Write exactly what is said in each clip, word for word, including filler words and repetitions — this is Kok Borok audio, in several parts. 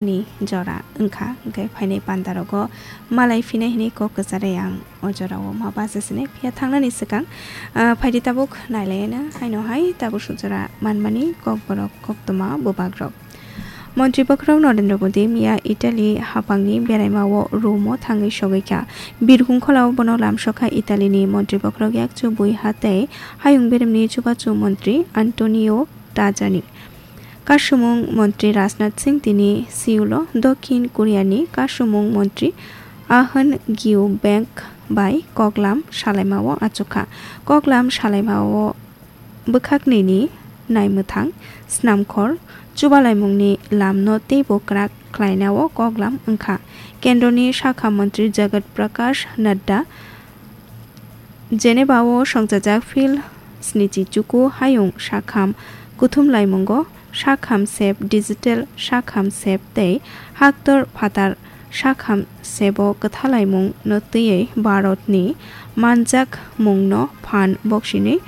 ni jora wngkha, hwnkhe phainai pandarogo malai phinai hwnwi kok kwcharwi ang o jorao ma bacha sinai. Phiya thangnani swkang, ah, phaidi tabuk nailaina haino hai tabuk sujora manmani kokborok koktwma bubagrok. Montri bokhorok Narendra Modi miya Italy haphangni beraimao Rome-o thangwi sogwi kha. Birkhung kholao bono lamsokha Italyni montri bokhorok yakchu bui ha tei hayung beremni chubachu montri Antonio Tajani. Kasumung montri Rajnath Singh tini Seoul-o Dokhin Koreani kasumung montri Ahn Gyu Bang bai koklam salaimao achukha. Koklam salaimao bwkhaknwini naimwthang, snamkhor, chubalaimungni lamno teibo kwrak khlainao koklam wngkha. Kendroni sakha montri Jagat Prakash Nadda Geneva-o songchajak Phil snichi chuku hayung sakham kuthum laimungo sakham sep digital sakham sep tei haktor phatar sakham sebo kwthalaimung no twiwi Bharatni manjak mungno phan boksini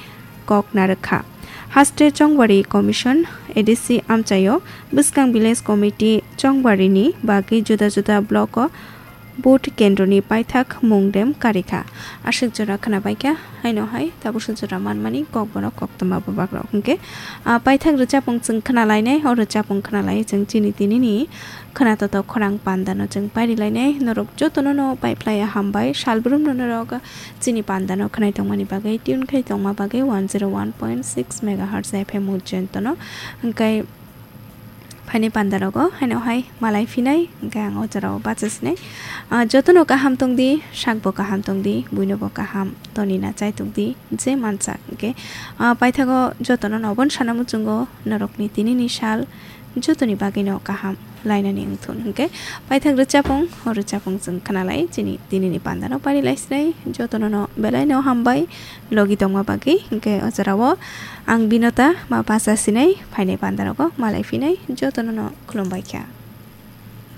kok narwkha. Haste Chongwari Commission, A D C amchaio bwskang Village Committee Chongwarini bagwi juda juda block-o vote kendroni paithak mung dem karikha. Aswk jora khwnabaikha, haino hai tabuk sujora manmani kokborok koktwma bubagrok. Hwnkhe, ah, paithak rwchapung chwng khwnalainai, o rwchapung khwnalai chwng chini tinini khwnatotok khorang pandano chwng pairilainai. Norok jotono no paiphlaiya hambai, salbrumno norok chini pandano khwnai tongmani bagwi, tune khai tongma bagwi one zero one point six megahertz F M Ujjaintono. Hwnkhe phaini pandarogo haino hai malai phinai, hwnkhe ang o jorao bacha sinai. Ah, jotono kaham tongdi, sakbo kaham tongdi, buinobo kaham toni na chai tongdi, je mansa hwnkhe, ah, paithago jotono no obono sana muchungo norokni tinini sal jotoni bagwino kaham lainani wngthun. Hwnkhe paithak rwchapung, o rwchapung chwng khwnalai chini tinini pandano parilai sinai, jotono no belaino hambai logi tongma bagwi. Hwnkhe o jorao ang Binota ma bacha sinai, phainai pandarogo malai phinai, jotono no khulumbai kha.